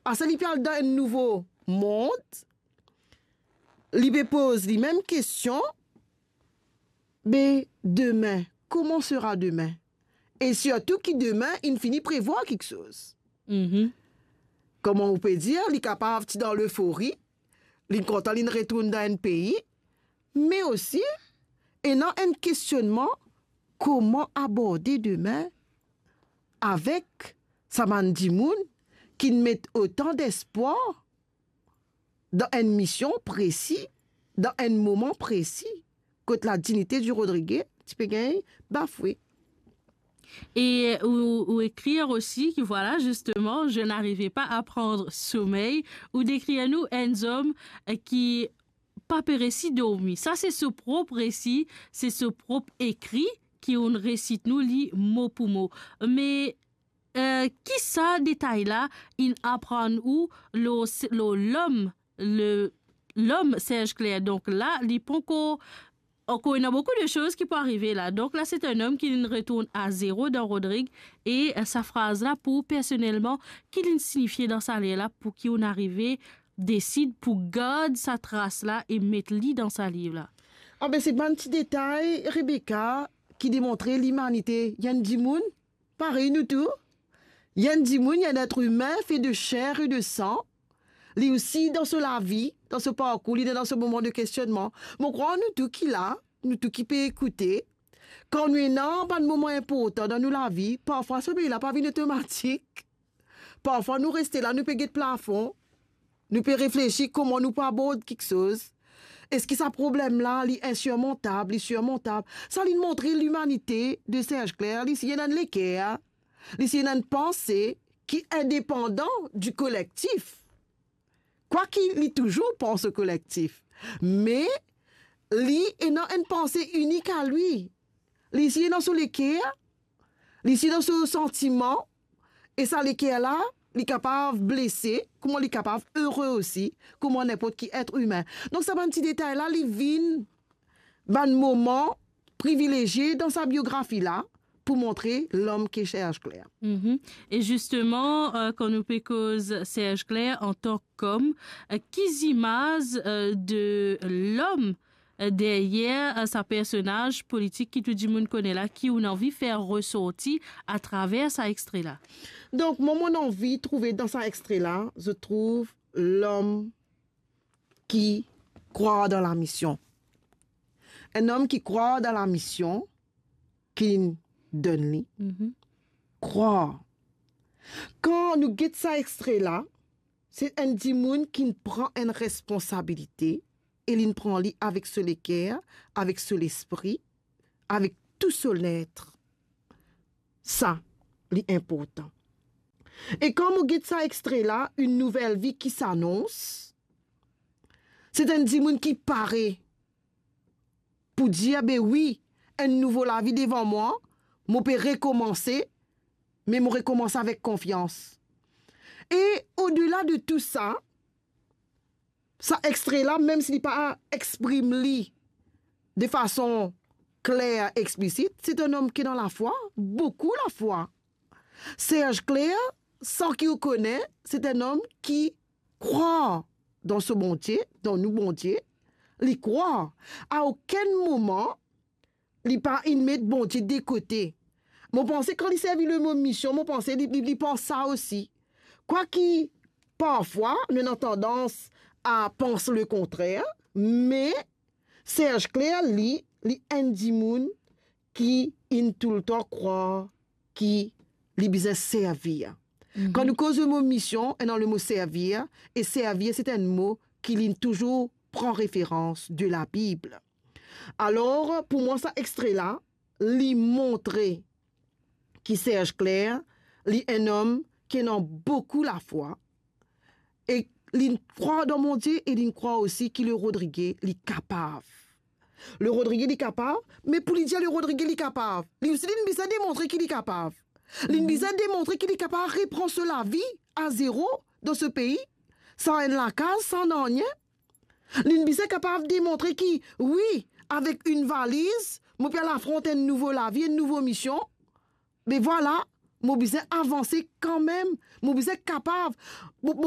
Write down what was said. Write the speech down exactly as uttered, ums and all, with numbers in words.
Apre sa, li pe al dan enn nouvo mond, li pe poz li mem kestion, be demin, comment sera demain? E sirtou ki demin, inn fini prevwar kiksoz. Mhm. Kouma ou pe dir, li kapav ti dan lefori, li kontan, li retourn dan enn pei, me osi, ena enn kestionnman, kouma aborde demin avek sa bann dimoun ki met otan despwar dan enn mision presi, dan enn moman presi, kot la dignité du Rodrigué ti pe gagn bafwe. E ou, ou ekrir osi ki, vwala, zisteman, je n'arrivais pas à prendre sommeil. Ou dekrir nou enn zom, eh, ki pa pe resi dormi. Sa se so prop resi, se so prop ekri ki ou'nn resit nou li mo pou mo. Me, eh, ki sa detay la inn aprann ou lor, lor lom, le, lom Serge Clair? Donk la, li pankor, ankor ena boukou de soz ki pou arive la. Donk la, se enn om ki retourn a zero dan Rodrig. E, eh, sa fraz la, pou ou personelman, ki li'nn sinifie dan sa ler la, pou ki ou'nn arive desid pou gard sa tras la e met li dan sa liv la? Abe, se bann ti detay, Rebecca, ki demontre limanite. Enn dimoun parey nou tou. Enn dimoun, enn être humain fait de chair et de sang. Li osi dan so lavi, dan so parkour, li dan so moman de kestionnman. Mo krwar nou tou ki la, nou tou ki pe ekoute, kan nou ena bann moman inportan dan nou lavi, parfwa somey la pa vinn otomatik. Parfwa nou reste la, nou pe get plafon, nou pe reflesi kouma nou pou abord kiksoz. Eski sa problem la, li insirmontab, li sirmontab? Sa li'nn montre limanite de Serge Clair, li si ena enn leker, li si ena enn panse ki indepandan di kolektif. Kwaki li touzour pans o kolektif, me li ena enn panse inik a li. Li si ena so leker, li si ena so santiman, e sa leker la, li kapav blese, kouma li kapav ere osi, kouma ninport ki être humain. Donk sa bann ti detay la, li vinn bann moman privilezie dan sa biografi la pou montre lom ki Serge Clair. Mhm. E zisteman, eh, kan nou pe koz Serge Clair antan kom, eh, ki zimaz, eh, de lom, eh, deryer, eh, sa personaz politik ki tou dimoun kone la, ki ou'nn anvi fer resorti atraver sa extre la? Donk, mwa, mo'nn anvi trouve dan sa extre la, zot trouv lom ki krwar dan lamision. Enn om ki krwar dan lamision ki donn li. Mhm. Krwar. Kan nou get sa extre la, se enn dimoun ki pran enn responsabilite e li pran li avek so leker, avek so lespri, avek tou so letre. Sa, li inportan. E kan mo get sa extre la, Une nouvelle vie qui s'annonce, se enn dimoun ki pare pou dir, be wi, enn nouvo lavi devan mwa, mo pe rekomanse, me mo rekomanse avek konfians. E odela de tou sa, sa extre la, mem si li pa exprim li de fason kler, explisit, se enn om ki ena lafwa, boukou lafwa. Serge Clair, san ki ou kone, se enn om ki krwar dan so Bondie, dan nou Bondie, li krwar. A okenn moman, li pa inn met Bondie de kote. Mo panse kan li servi lemo mision, mo panse li, li, li pans sa osi. Kwaki, parfwa, nou ena tandans a pans lekontrer, me Serge Clair, li, li enn dimoun ki inn toultan krwar ki li bizin servi. Mhm. Kan nou koz lemo mision, ena lemo servir, e servir, se enn mo ki li touzour pran referans de la Bib. Alor, pou mwa, sa extre la, li montre ki Serge Clair, li enn om ki ena boukou lafwa, e li krwar dan Bondie, e li krwar osi ki le Rodrigué, li kapav. Le Rodrigué, li kapav, me pou li dir le Rodrigué, li kapav, li osi, li bizin demontre ki li kapav. Li bizin demontre ki li kapav repran so lavi a zero dan so pei, san enn lakaz, san nanye. Li bizin kapav demontre ki, wi, avek enn valiz, mo pe al afront enn nouvo lavi, enn nouvo mision. Me vwala, mo bizin avanse kanmem. Mo bizin kapav. Mo,